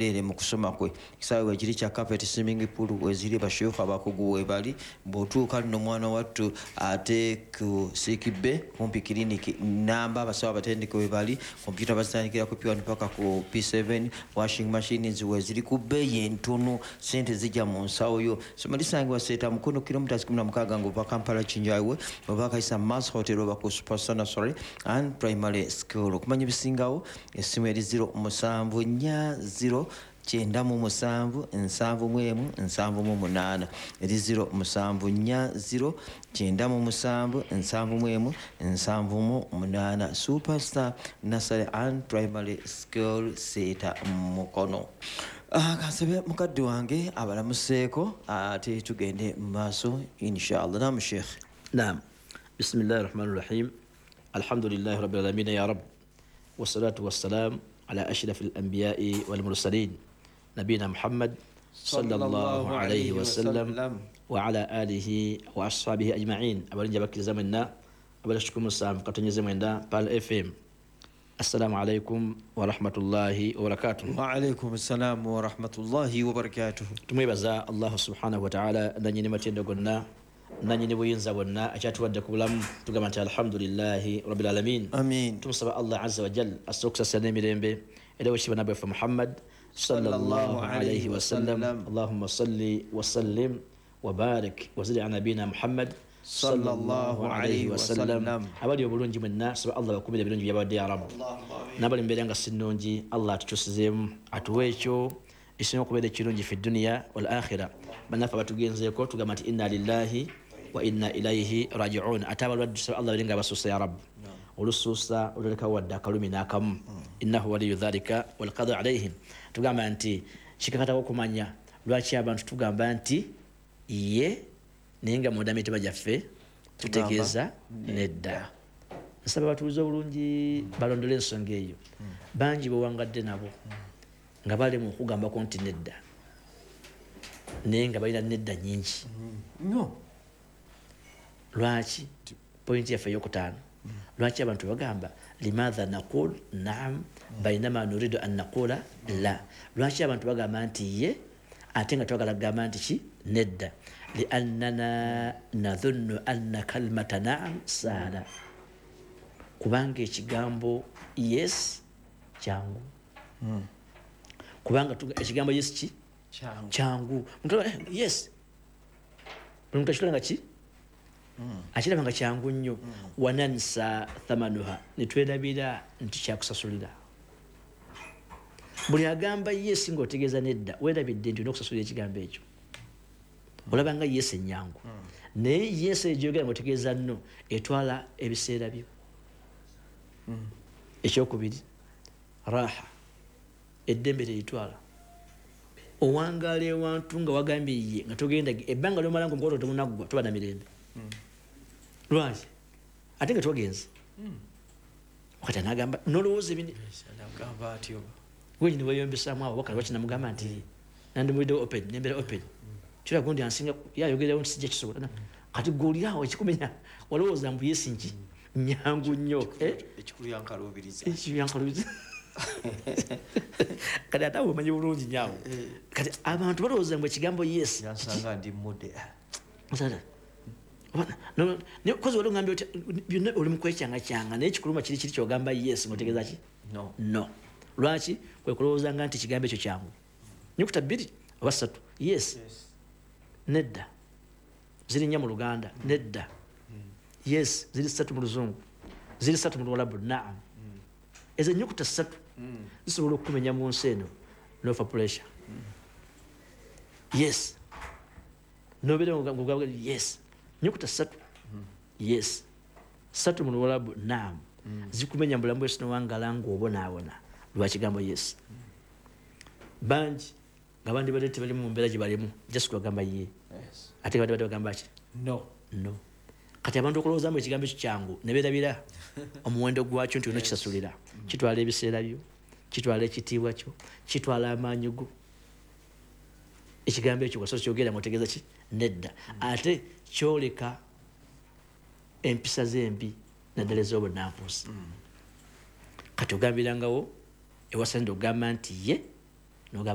Ere mu kusoma kwe kisaawe wekiri kya carpet, swimming pool weziri, basheikh abakugu webali. Bw'otuuka nno mwana wattu ate ku sikibe kumpi kiriniki namba, abasawo abatendeke webali, kompyuta bazitandikira ku P1 paka ku P7, washing machines weziri ku bbeeyi entono, sente zijja mu nsawo yo. Soma lisangibwa Seeta Mukono, kilometers 16 ng'ova Kampala Kinjawe, oba Kaisa Mass Hotel, oba ku Superstar Nursery and Primary School. Okumanya ebisingawo, essimu eri 0740 97 71 78, eri 0740 97 71 78. Superstar Nursery and Primary School, Seeta Mukono. Kansabe mukadde wange abalamuseeko ate tugende mu maaso inshallah. Namu sheikh. Naam. Bismillahi rahmani rahim. Alhamdulillahi rabbil alamin ya rab. Wassalatu wassalam ala ashrafil anbiya'i wal mursalin. Nabina Muhammad sallallahu alayhi wa sallam wa ala alihi wa ashabihi ajma'in. Abalinja bakkiriza mwenna, abalashukuru musanvu katonyeze mwenda Pearl FM. Assalamu alaikum wa rahmatullahi wa barakatuh. Wa alaikum assalam wa rahmatullahi wa barakatuh. Tumwebaza Allah subhanahu wa ta'ala nanyini matendo gonna, nanyini buyinza bwonna akyatuwadde ku bulamu, tugamba nti alhamdulillahi rabbil alamin. Amin. Tumusaba Allah azza wa jal asse okusasira n'emirembe era wekitiibwa nabbi waffe Muhammad sallallahu alayhi wa sallam. Allahumma salli wa sallim wa barik wa zid ala nabina Muhammad sallallahu alayhi wa sallam. Abali obulungi mwenna, saba Allah bakumire ebirungi byabadde ya Rabb. N'abali mbeera nga si nnungi, Allah atukyusizeemu atuwe ekyo ekisinga okubeera ekirungi fi duniya wal akhira. Bannaffe abatugenzeeko tugamba nti inna lillahi wa inna ilaihi rajiun. Ate abalwadde tusaba Allah babe nga abasuusa ya Rabb, olusuusa oluleka wadde akalumi n'akamu. Innahu waliyu dhalika walqadru alaihim. Tugamba nti kikakatako okumanya lwaki abantu tugamba nti ye, naye nga munda mitima gyaffe tutegeeza nedda. Nsaba batuuze obulungi balondole ensonga eyo. Bangi bewangadde nabo nga balema okugambako nti nedda, naye nga balina nedda nyingi. No. Lwaki? Pointi yaffe eyokutaano. Lwaki abantu bagamba limadha naqul naam bainama nuridu an naqula la? Lwaki abantu bagamba nti ye ate nga twagala kugamba nti ki nedda? Liannana nadhunnu anna kalmata naam sahla, kubanga ekigambo yes kyangu. Kubanga ekigambo yes ki kyangu. Yes buli muntu akiraba nga ki akiraba nga kyangu nnyo. Wanansa thamanuha, netwerabira nti kyakusasulira. Buli agamba yes ng'otegeeza nedda, weerabidde nti olina okusasulira ekigambo ekyo. Olaba nga yes ennyangu, naye yes egyogera ng'otegeeza nno etwala ebiseera byo. Ekyokubiri, raha, eddembe teritwala. Owangaala ewantu nga wagambye ye nga togenda, ebbanga lyomala nga omukolo tegunaggwa toba na mirembe. Lwaki? Ate nga twagenze. Wakati anagamba nolowooza ebindi wenyini weyombesaamu awo wakati lwaki namugamba nti nandimuliddewo open, nembeera open. Kira gundi ansinga yayogerawo nti sijja kisobola. Kati gwe oli awo ekikumenya walowooza mbu yes nki nyangu nnyo. Ekikulu yankaluubiriza. Ekikulu yankaluubiriza. Kati ate awo omanyi bulungi nnyo awo. Kati abantu balowooza mbu ekigambo yes yansanga ndi mudde. Kozi wali ogambye otya byonna oli mu kwekyangakyanga, naye ekikuluma kiri kiri ky'ogamba yes ng'otegeeza ki? No. No. Lwaki? Kwe kulowoozanga nti ekigambo ekyo kyangu. Nyukuta 2 oba 3. Yes. Nedda. Ziri 4 mu Luganda. Nedda. Yes, ziri 3 mu Luzungu. Ziri 3 mu Luwalabu. Naam. Ezo ennyukuta 3 zisobola okukumenya mu nsi eno n'ofa pressure. Yes. Nobeera ng'ogamba yes. Nyukuta 3. Yes. 3 mu Luwalabu. Naam. Zikumenya mu bulamu bw'ensi n'owangala ng'obonaabona lwa kigambo yes. Bangi nga bandibadde tebali mu mbeera gye balimu, just kubagamba ye. Ate nga bandibadde bagamba ki? No. No. Kati abantu okulowoozaamu ekigambo ekyo kyangu ne beerabira omuwendo gwakyo nti olina okisasulira. Kitwala ebiseera byo, kitwala ekitiibwa kyo, kitwala amaanyi go. Ekigambo ekyo bw'osobola kyogera ng'otegeeza ki? Nedda. Ate kyoleka empisa z'embi naddala ez'obunnanfuusi. Kati ogambirangawo ewasande ogamba nti ye Nogamba.